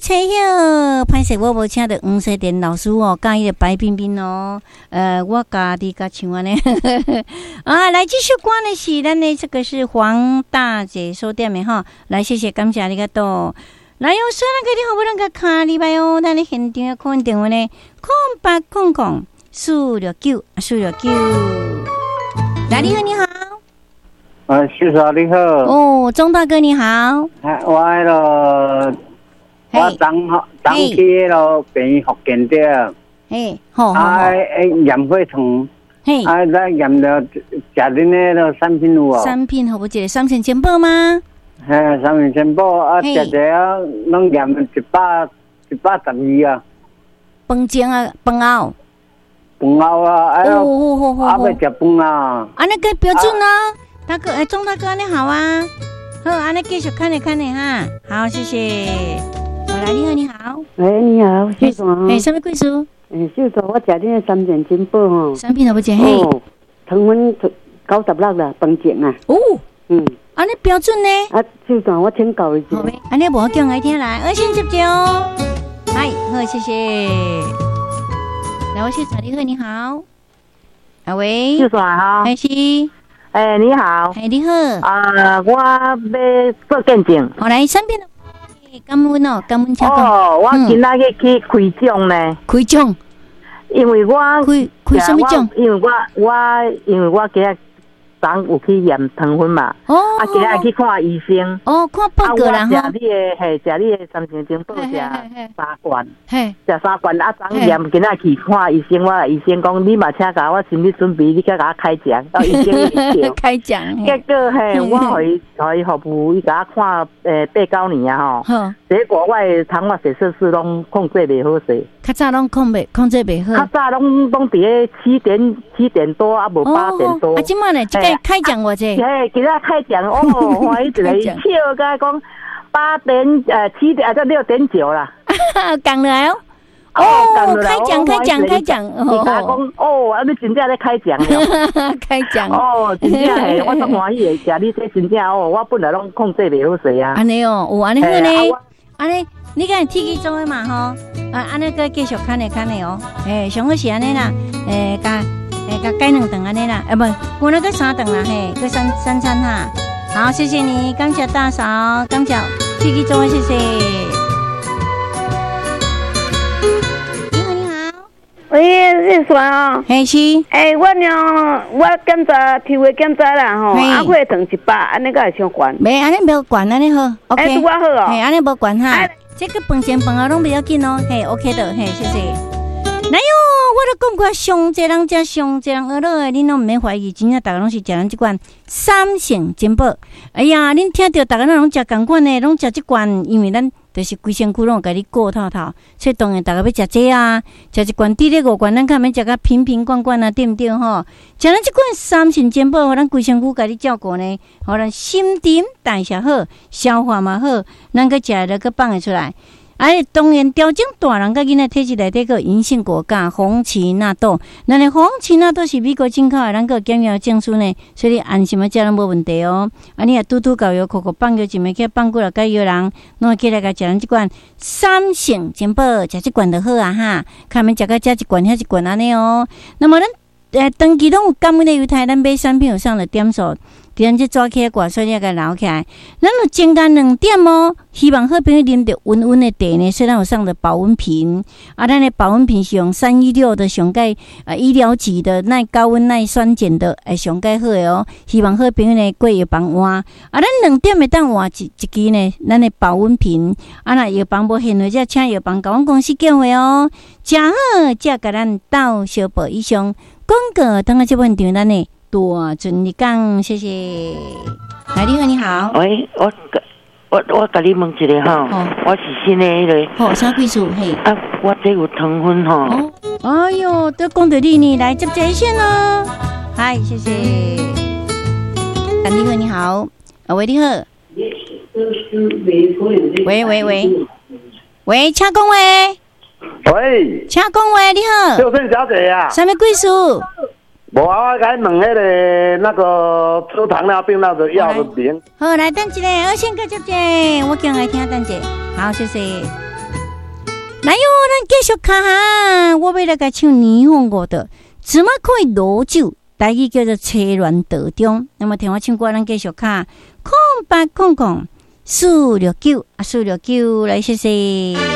吹曉，歹勢我無請著黃世田老師哦，佮伊個白冰冰哦，我家己共唱按呢。啊，來這首歌呢是咱的這個是黃大姐所點的吼，來謝謝感謝你個多。來哦，雖然個你好不能個卡禮拜哦，咱的現場的 call 電話呢，0800 469 469。來，你好，你好。啊，秀嫂你好。哦，鍾大哥你好。啊，我彼囉，我昨昨去彼囉病院復健著。嘿，好。啊，驗血糖。嘿。啊，咱驗著食恁彼囉產品有無？產品好無？這个三星珍寶嗎？嘿，三星珍寶啊，食者啊，攏驗112啊。飯前啊，飯後。飯後啊，哎喲，啊欲食飯啊。按呢個標準啊。大哥，哎，鍾大哥，你好啊，好，按呢繼續看你看你哈，好，謝謝。來，你好，你好。喂，你好，秀嫂。哎，啥物貴數？哎，秀嫂，我食恁的三件珍寶吼。產品都無食嘿。哦，糖分96啦，飯前啊。哦。按呢標準呢？啊，秀嫂，我請教一下。好，按呢無叫愛聽來，二線接接哦。嗨，好，謝謝。來，我秀嫂，你好，你好。啊喂。秀嫂哈。開始。欸，你好。欸，你好。啊，我欲做見證。好，來，身邊的感恩哦，感恩請講。哦，我今仔日去開獎呢。開獎。因為我開開啥物獎？因為我今日昨有去驗糖分嘛。哦。啊，今日去看醫生。哦，看報告啦。啊，我食你的，嘿，食你的三星珍寶食三罐。嘿。食三罐啊，昨驗今仔去看醫生，我醫生講你嘛請共我心理準備，你閣共我開獎，到醫生一直笑。開獎。結果嘿，我予伊服務，伊共我看八九年啊吼。結果我的糖化血色素攏控制袂好勢。較早攏控制袂好。較早攏佇咧7點多啊，無8點多。啊，這擺呢？這個開獎偌濟？嘿，今仔開獎哦，歡喜一个笑甲講8點7點啊，才6.9啦。降落來哦。哦，開獎開獎開獎！伊共我講哦，啊你真正咧開獎了。開獎哦，真正嘿，我足歡喜的，食你這真正哦，我本來攏控制袂好勢啊。按呢哦，有按呢好呢。按呢，你敢會鐵齒做的嘛吼？啊，按呢閣繼續看咧看咧哦。欸，上好是按呢啦，欸，共欸共改兩頓按呢啦，欸無，我那閣三頓啦嘿，閣三餐哈。好，謝謝你，感謝大嫂，感謝鐵齒做的，謝謝。你好，你好。喂，熱線哦。嘿是。欸，我呢，我檢查抽血檢查啦吼，啊，血糖100，按呢敢會傷懸？袂，按呢無懸，按呢好。OK。欸，拄仔好哦。嘿，按呢無懸哈。這個飯前飯後攏袂要緊哦，嘿，OK 的，嘿，謝謝。來喲，我都講過，上濟人食，上濟人學落的，恁攏毋免懷疑，真正逐家攏是食咱這罐三星珍寶。哎呀，恁聽著，逐家攏食仝款的，攏食這罐，因為咱就是規身軀攏有共你顧透透，所以當然逐家欲食這啊，食一罐佇咧五罐，咱較免食甲瓶瓶罐罐啊，對毋對吼？食咱這罐三星珍寶，予咱規身軀共你照顧呢，予咱新陳代謝好，消化嘛好，咱閣食了閣放會出來。哎，當然調整大人佮囡仔體質內底閣有銀杏果鉀、紅芪納豆。咱的紅芪納豆是美國進口的，咱閣有檢驗證書呢，所以你安心仔食攏無問題哦。啊，你若拄拄到藥庫庫放藥，一暝去放久了，佮藥人攏會起來共食咱這罐三星珍寶，食這罐就好啊哈。較免食到這一罐遐一罐按呢哦。那麼咱長期攏有感恩的猶太，咱買產品有送的點數。佇咱這紙起掛，所以你共留起來。咱有增加2點哦，希望好朋友啉著溫溫的茶呢，雖然有送著保溫瓶，啊，咱的保溫瓶是用316的上蓋醫療級的耐高溫耐酸鹼的，會上蓋好的哦。希望好朋友呢過藥房換，啊，咱兩點會當換一支呢，咱的保溫瓶，啊，若藥房無現貨，才請藥房共阮公司叫貨哦。誠好，才共咱鬥相報以上廣告，等下這份場咱的大陣日講，謝謝。來，你好，你好。喂，我共你問一下吼，我是新的彼个。好，啥貴數？嘿。啊，我這有糖分吼。哦，哎喲，都講著你呢，來接熱線咯。嗨，謝謝。你好，你好。啊，喂，你好。喂喂喂，喂，請講話。喂。請講話，你好。秀珍小姐啊。啥物貴數？無啊，我共你問彼个那個治糖尿病那個藥的名。好，來等一下，我先閣接者，我更愛聽等一下。好，謝謝。來喲，咱繼續看哈，我欲來共唱霓虹五的，怎麼可以羅酒？台語叫做車亂道中。那麼聽我唱歌，咱繼續敲0800 469啊，469來，謝謝。